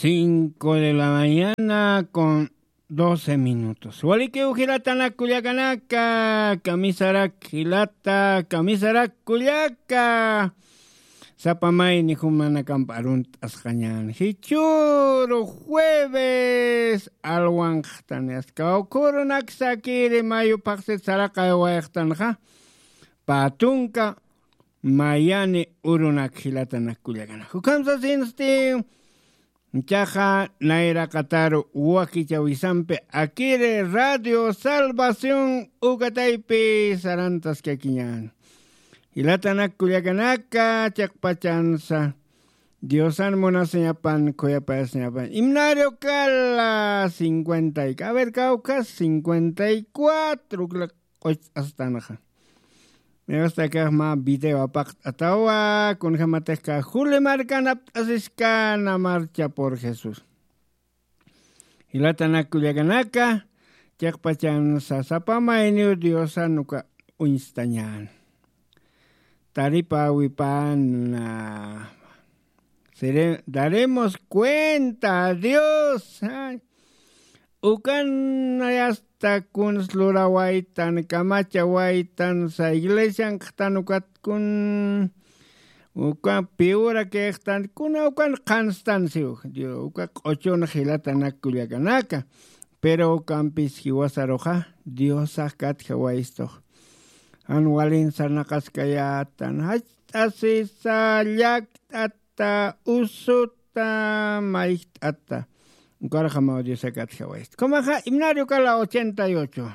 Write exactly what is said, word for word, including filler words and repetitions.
Cinco de la mañana con doce minutos. Walikiw jilatanak kullakanaka, kamisarak jilata, kamisarak kullaka. Sapa mayni jumanakamp arunt'asqañän. Jichhüru jueves alwanxtani, askawkhurunak sakiri mayu phaxsit saraqaywayxtanxa. Pä tunka mayani urunak jilatanak kullakanak. Ukham sasinsti, ichaxa nayraqataru wakichawisampi akiri Radio Salvación ukataypi sarantaskakiñän. Jilatanak kullakanaka, chiqpachansa Diosan munasiñapan, khuyapayasiñapan. Himnario kala cincuenta y, a ver, kawkhas cincuenta y cuatro, q'uch'astanxa. Me gusta que ma video apaqt'atawa, kunjamatix ka Juli markan apt'asiskana marcha por Jesús. Jilatanak kullakanaka, chiqpachansa sapa mayniw Diosan uka uñstañän. Taripäwipana. Sere-, daremos cuenta a Dios. Ay. Ukan yasta kuns lurawaytan, kamachawaytan, sa iglesian qhtan ukat kun, uka piwra kixtan, kuna ukan qhanstan siw. Dio, uka q'uchun jilatanak kullakanaka. Pero ukampis jiwasaruxa, Diosax katjawaystux. Jan walin sarnaqaskayätan, jach'asisa, llakt'ata, usuta, mayjt'ata. Ukarjamaw Diosax katjawaysta. Kumaxa, himnario kala ochenta y ocho.